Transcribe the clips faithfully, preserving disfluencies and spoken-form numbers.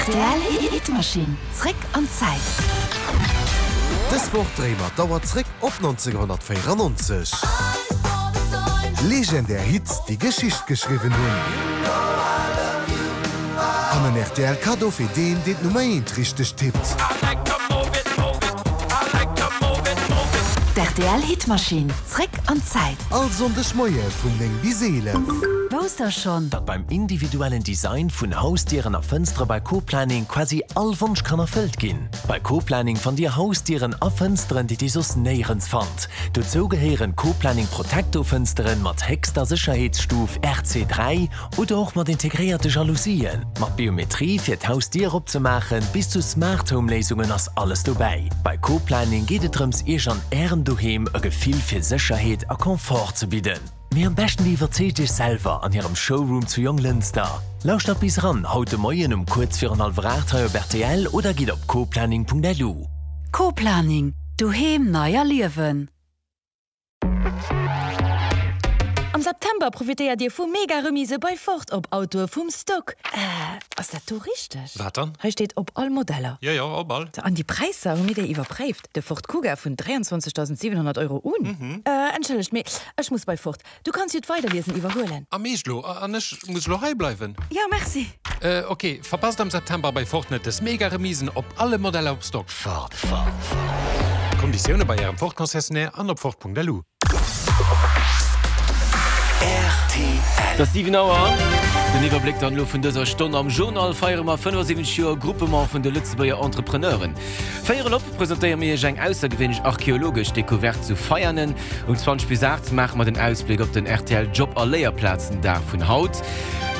Rtl Hitmaschinn, zréck an d'Zäit. Dës Woch dréie mer d'Auer zréck op nonzénghonnertvéierannonzeg. Legendär Hits, déi Geschicht geschriwwen hunn. An en rtl Kaddo fir deen, deen d'Nummer eent richteg tippt. D'RTL Hitmaschinn, zréck an d'Zäit. All Sonndeg Moie vun néng bis eelef. Wousst der schonn? Datt beim individuellen Design vun Hausdieren a Fënstere bei Co-Planning quasi all Wonsch kann erfëllt ginn? Bei Co-Planning fannt Dir Hausdieren a Fënsteren, déi Dir soss néierens fannt. Dozou gehéieren Co-Planning Protecto Fënsteren mat héchster Sécherheetsstuf R C dräi oder och mat integréierte Jalousien. Mat Biometrie fir d'Hausdier opzemaachen, bis zu Smart Home Léisungen ass alles dobäi. Bei Co-Planning geet et drëms Iech an Ärem Doheem e Gefill fir Sécherheet a Confort ze bidden. Mee am beschten Dir iwwerzeegt Iech selwer an hirem Showroom zu Jonglënster. Lauschtert bis eran haut de Moien um kuerz virun hallwer aacht hei op rtl oder gitt op coplanning.lu. Co-Planning, Doheem nei erliewen. Am September profitéiert Dir vu mega Remise bei Ford op Autoe vum Stock. Äh, ass dat do richteg? Wat dann? Hei steet op all Modeller. Jo, jo, op all. An déi Präisser, hu mir déi iwwerpréift? De Ford Kuga vun dräianzwanzegdausendsiwenhonnert Euro un. Mhm. Äh, entschëllegt, mee ech muss bei Ford. Du kanns jo d'Weiderliesen iwwerhuelen. Am Eescht lo? An ech muss lo hei bleiwen? Jo, merci. Äh, ok, verpasst am September bei Ford net des mega Remisen op alle Modeller op Stock. Ford, Ford, Ford. Konditioune bei Ärem Ford-Concessionnaire an op Ford.lu. Et ass siwen Auer. Den Iwwerbléck dann elo vun dëser Stonn. Am Journal feiere mer fënnefasiwwenzeg Joer Groupement vun de Lëtzebuerger Entrepreneuren. Véierel op presentéiere mir iech eng aussergewéinlech archeologesch Decouverte zu Veianen. Um zwanzeg bis aacht maache mer den Ausbléck op den rtl Job a Léierplazendag vun haut.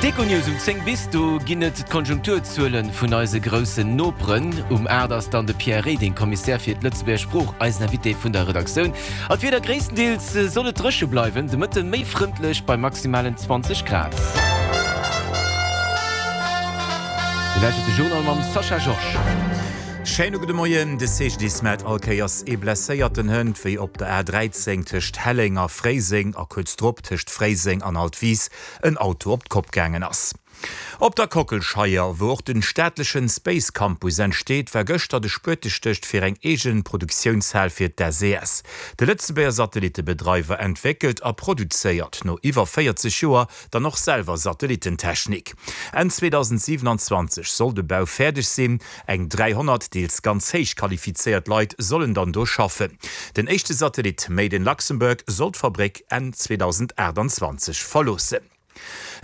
D'Econews um zéng bis, do ginn et d'Konjunkturzuele vun eise groussen Noperen. Um aacht ass dann de Pierre Reding, Kommissär fir d'Lëtzebuerger Sprooch, eisen Invité vun der Redaktioun. An d'Wieder, Gréisstendeels soll et dréche bleiwen, de Mëtte méi frëndlech bei maximalen zwanzeg Grad. Dir lauschtert de Journal mam Sascha Georges. Schéine gudde Moien. De C G D I S mellt all Kéiers ee Blesséierten hënt, wéi op der A dräizéng tëscht Helleng a Fréiseng a kuerz drop tëscht Fréiseng an Altwis en Auto op d'Kopp gaangen ass. Op der Kockelscheier, wou och den staatlechen Space Campus entsteet, war gëschter de Spuetestécht fir eng eegen Produktiounshal fir d'S E S. De Lëtzebuerger Satellittebedreiwer entwéckelt a produzéiert no iwwer véierzeg Joer dann och selwer Satellittentechnik. Enn zweedausendsiewenanzwanzeg soll de Bau fäerdeg sinn, eng dräihonnert deels ganz héich qualifizéiert Leit sollen dann do schaffen. Den éischte Satellit Made in Luxembourg soll d'Fabréck Enn zweedausendaachtanzwanzeg verloossen.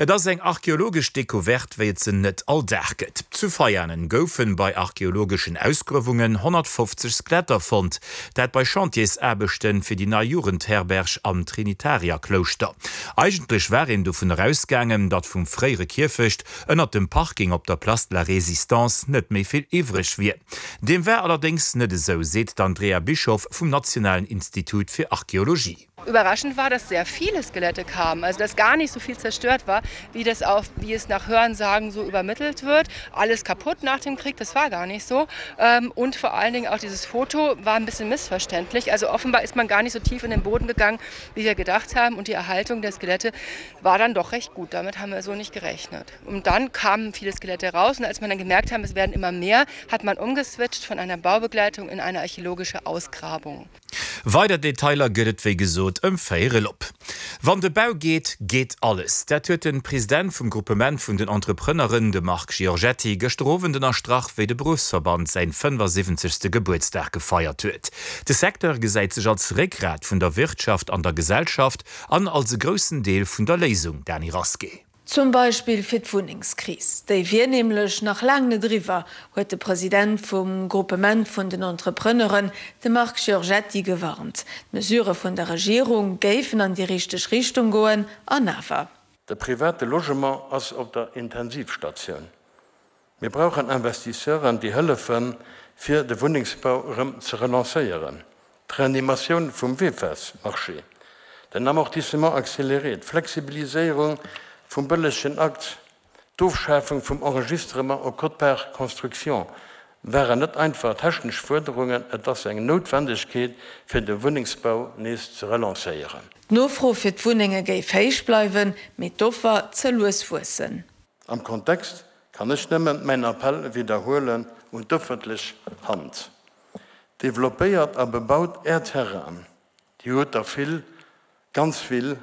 Et ass eng archeologesch Decouverte, wéi et se net all Dag gëtt. Zu Veianen goufen bei archeologeschen Ausgruewungen honnertfofzeg Skeletter fonnt. Dat bei Chantiersaarbechten fir déi nei Jugendherberg am Trinitarierklouschter. Eigentlech war een dovun ausgaangen, datt vum fréiere Kierfecht ënnert dem Parking op der Place de la Résistance net méi vill iwwreg wier. Deem war allerdéngs net esou, seet d'Andrea Bischoff vum Nationalen Institut fir Archeologie. Überraschend war, dass sehr viele Skelette kamen, also dass gar nicht so viel zerstört war, wie das auf, wie es nach Hörensagen so übermittelt wird. Alles kaputt nach dem Krieg, das war gar nicht so. Ähm, und vor allen Dingen auch dieses Foto war ein bisschen missverständlich. Also offenbar ist man gar nicht so tief in den Boden gegangen, wie wir gedacht haben. Und die Erhaltung der Skelette war dann doch recht gut. Damit haben wir so nicht gerechnet. Und dann kamen viele Skelette raus. Und als man dann gemerkt haben, es werden immer mehr, hat man umgeswitcht von einer Baubegleitung in eine archäologische Ausgrabung. Weider Detailer gëtt et wéi gesot ëm véierel op. Wann de Bau geet, geet alles. Dat huet de President vum Groupement vun den Entrepreneuren, de Marc Giorgetti, gëschter Owend ënnerstrach, wéi de Beruffsverband säin fënnefasiwwenzegste Gebuertsdag gefeiert huet. De Secteur gesäit sech als Réckgrat vun der Wirtschaft an der Gesellschaft an als e groussen Deel vun der Léisung, Dany Rasqué. Zum Beispill fir d'Wunnengskris. Déi wier nämlech nach laang net eriwwer, huet de President vum Groupement vun den Entrepreneuren, de Marc Giorgetti, gewarnt. D'Mesurë vun der Regierung géifen an déi richteg Richtung goen, an awer. De private Logement ass op der Intensivstatioun. Mir brauchen Investisseuren, déi hëllefen, fir de Wunnengsbau erëm ze relancéieren. D'Reanimatioun vum V E F E S-Marché, den Amortissement accéléré, d'Flexibiliséierung vum bëllegen Akt, d'Ofschafung vum Enregistrement au quote-part construction waren net einfach technesch Fuerderungen, et ass eng Noutwendegkeet, fir de Wunnengsbau nees ze relancéieren. D'Nofro fir d'Wunnenge géif héich bleiwen, mee d'Offer ze lues wuessen. Am Kontext kann ech nëmmen mäin Appell widderhuelen un d'ëffentlech Hand, Developpéiert a bebaut Är Terrainen, Dir hutt der vill, ganz vill,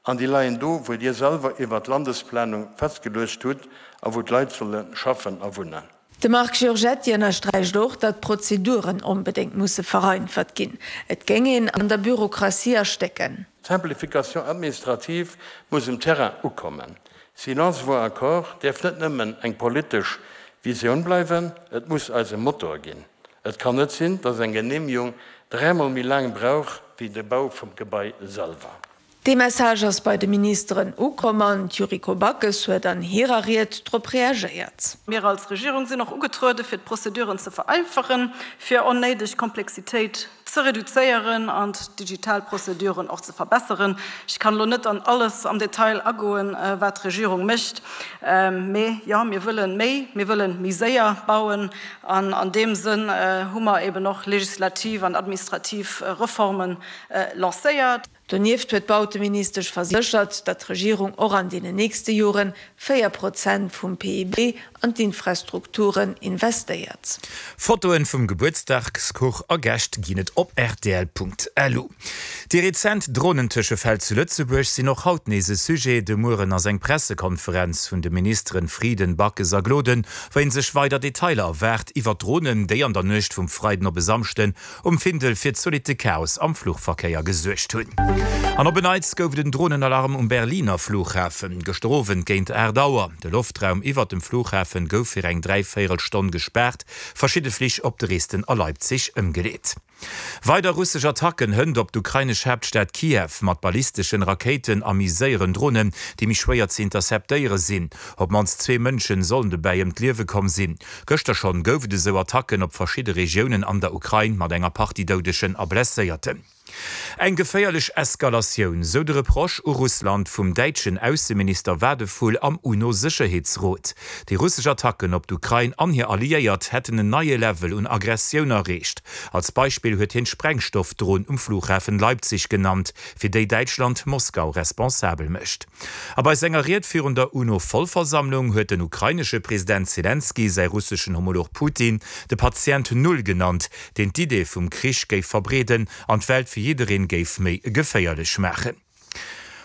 an déi leien do, wou Dir selwer iwwert d'Landesplanung festgeluecht hutt a wou d'Leit solle schaffen a wunnen. De Marc Giorgetti ënnersträicht och, datt d'Prozeduren onbedéngt musse vereinfacht ginn. Et géing een an der Bürokratie erstécken. D'Simplification administrative muss um Terrain ukommen. Silence vaut accord däerf net nëmmen eng politesch Visioun bleiwen, et muss eise Motor ginn. Et kann net sinn, datt eng Genehmegung dräimol méi laang brauch wéi de Bau vum Gebai selwer. Dee Message ass bei de Ministeren ukomm an d'Yuriko Backes huet an hirer Ried drop reagéiert. Mir als Regierung sinn och ugetruede fir d'Prozeduren ze vereinfachen, fir onnéideg Komplexitéit ze reduzéieren an d'digital Prozeduren och ze verbesseren. Ech kann elo net an alles am Detail agoen, wat d'Regierung mécht, mee jo, mir wëllen méi, mir wëllen méi séier bauen an an deem Sënn hu mer eben och legislativ an administrativ Reformen lancéiert. Donieft huet d'Bauteministesch verséchert, datt d'Regierung och an deenen nächste Jore véier Prozent vum P I B an d'Infrastrukturen investéiert. Fotoen vum Gebuertsdagskuch a Gäscht ginn et op rtl.lu. Déi rezent Dronentëschefäll zu Lëtzebuerg sinn och haut nees e Sujet. De Mueren ass eng Pressekonferenz vun de Ministeren Frieden, Backes a Gloden, wou ee sech weider Detailer erwaart iwwer d'Dronen, déi an der Nuecht vum Freiden op e Samschden um Findel fir zolitte Chaos am Fluchverkéier gesuergt hunn. An op en Neits gouf et en Dronenalarm um Berliner Flughafen, gëschter Owend géint aacht Auer. De Loftraum iwwert dem Flughafen gouf fir eng dräivéierel Stonn gespaart, verschidde Flich op Dresden a Leipzig ëmgeleet. Weider russesch Attacken hënt op d'ukrainesch Haaptstad Kiew mat ballisteschen Rakéiten a méi séieren Dronen, déi méi schwéier ze interceptéiere sinn. Op d'mannst zwee Mënschen sollen dobäi ëm d'Liewe komm sinn. Gëschter schonn gouf et esou Attacken op verschidde Regiounen an der Ukrain mat enger Partie Doudegen a Blesséierten. Eng geféierlech Eskalatioun, sou de Reproche u Russland vum däitschen Ausseminister Wadephul am UNO-Sécherheetsrot. Déi russesch Attacken op d'Ukrain an hir Alliéiert hätten en neie Level un Aggressioun erreecht. Als Beispill huet hien d'Sprengstoffdron um Flughafen Leipzig genannt, fir déi Däitschland Moskau responsabel mécht. A bei senger Ried virun der UNO-Vollversammlung huet den ukrainesche President Selenskyj säi russeschen Homolog Putin de Patient Null genannt, deen d'Idee vum Krich géif verbreeden an d'Welt fir jiddereen géif méi geféierlech maachen.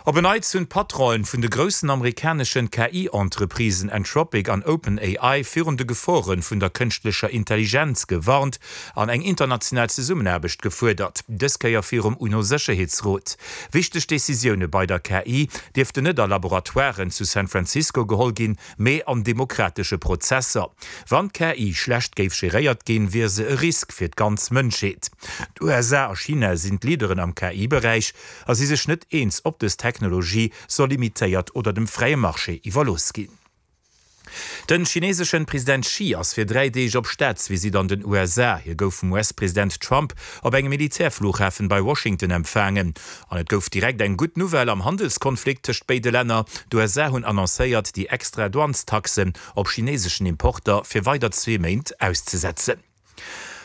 Op en Neits hunn d'Patronen vun de groussen amerikaneschen K I-Entreprisen Anthropic an OpenAI virun de Geforen vun der kënschtlecher Intelligenz gewarnt an eng international Zesummenaarbecht gefuerdert, dës Kéier virum UNO-Sécherheetsrot. Wichteg Decisioune bei der K I dierften net a Laboratoiren zu San Francisco geholl ginn, mee an demokratesche Prozesser. Wann d'K I schlecht géif geréiert ginn, wier se e Risk fir d'ganz Mënschheet. D'U S A a China sinn d'Leaderen am K I-Beräich a si sech net eens, ob dës Technologie soll limitéiert oder dem fräie Marché iwwerlooss ginn. Den chineseschen President Xi ass fir dräi Deeg op Staatsvisitt an den U S A. Hie gouf vum U S-President Trump op engem Militärflughafen bei Washington empfaangen. An et gouf direkt eng gutt Nouvelle am Handelskonflikt tëscht béide Länner. D'U S A hunn annoncéiert, déi extra Douanestaxen op chineseschen Importer fir weider zwee Méint auszesetzen.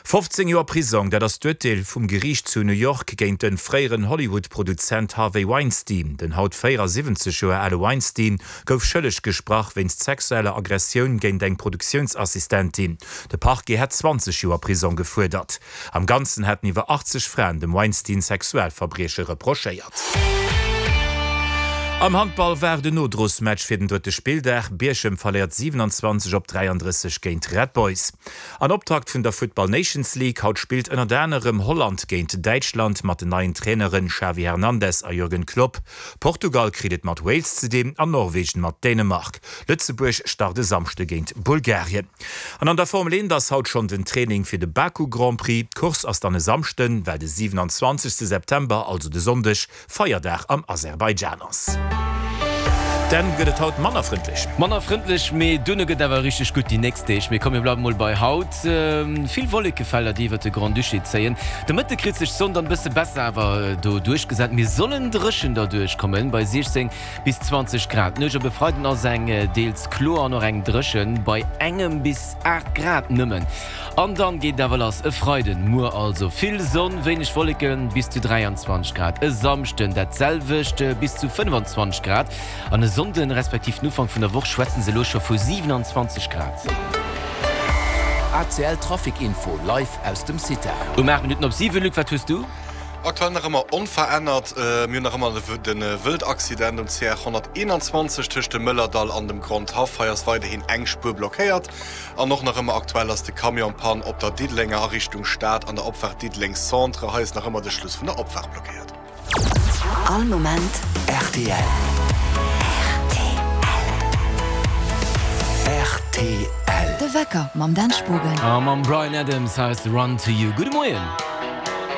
fofzéng Joer Prisong, dat ass d'Urteel vum Geriicht zu New York géint den fréieren Hollywood-Produzent Harvey Weinstein. Den haut véierasiwwenzeg Joer ale Weinstein gouf schëlleg gesprach wéinst sexueller Aggressioun géint eng Produktiounsassistentin. De Parquet hat zwanzeg Joer Prisong gefuerdert. Am Ganzen hätten iwwer achtzeg Fraen dem Weinstein Sexualverbrieche reprochéiert. Am Handball war den Nodrossmatch fir den drëtte Spilldag. Bierchem verléiert siewenundzwanzeg op dräianddrësseg géint Red Boys. An Optakt vun der Football Nations League haut spillt ënnert anerem Holland géint Däitschland mat den neien Traineren Xavi Hernandez a Jürgen Klopp. Portugal kritt et mat Wales ze dinn an Norwegen mat Dänemark. Lëtzebuerg start e Samschde géint Bulgarien. An an der Formel eent ass haut schonn den Training fir de Baku Grand Prix. D'Course ass dann e Samschden, well de siewenundzwanzegste September, also de Sonndeg, Feierdag am Aserbaidschan ass. Dann gëtt et haut manner frëndlech. Manner frëndlech, mee dunne gëtt awer richteg gutt déi nächst Deeg. Mee komm, mir bleiwe mol bei haut. Vill Wollekefelder, déi iwwer de Grand-Duché zéien. De Mëtte kritt sech d'Sonn dann e bësse besser awer do duerchgesat. Mir sollen dréchen derduerch kommen, bei siechzéng bis zwanzeg Grad. D'Nuecht op e Freiden ass eng deels kloer an och eng dréchen, bei engem bis aacht Grad nëmmen. An dann geet et awer lass, e Freiden, muer also, vill Sonn, wéineg Wolleken, bis zu dräianzwanzeg Grad, e Samschden dat selwecht, bis zu fënnefanzwanzeg Grad an e Sonnden, respektiv den Ufank vun der Woch schwätzen se elo scho vu siwenanzwanzeg Grad. A C L Trafic Info live aus dem CITA. Um aacht Minutten op siwen, Luc, wat hues du? Aktuell nach ëmmer onverännert. Mir hunn nach ëmmer de Wëldaccident um C R honnerteenanzwanzeg tëscht dem Mëllerdall an dem Grondhaff. Hei ass weiderhin eng Spuer blockéiert. An och nach ëmmer aktuell ass de Camion Panne op der Diddelenger a Richtung Stad an der Opfaart Diddeleng Centre. Hei ass nach ëmmer de Schluss vun der Opfaart blockéiert. All Moment rtl. Rtl. De Wecker mam Dan Spogen. A mam Bryan Adams hei ass Run to You. Gudde Moien.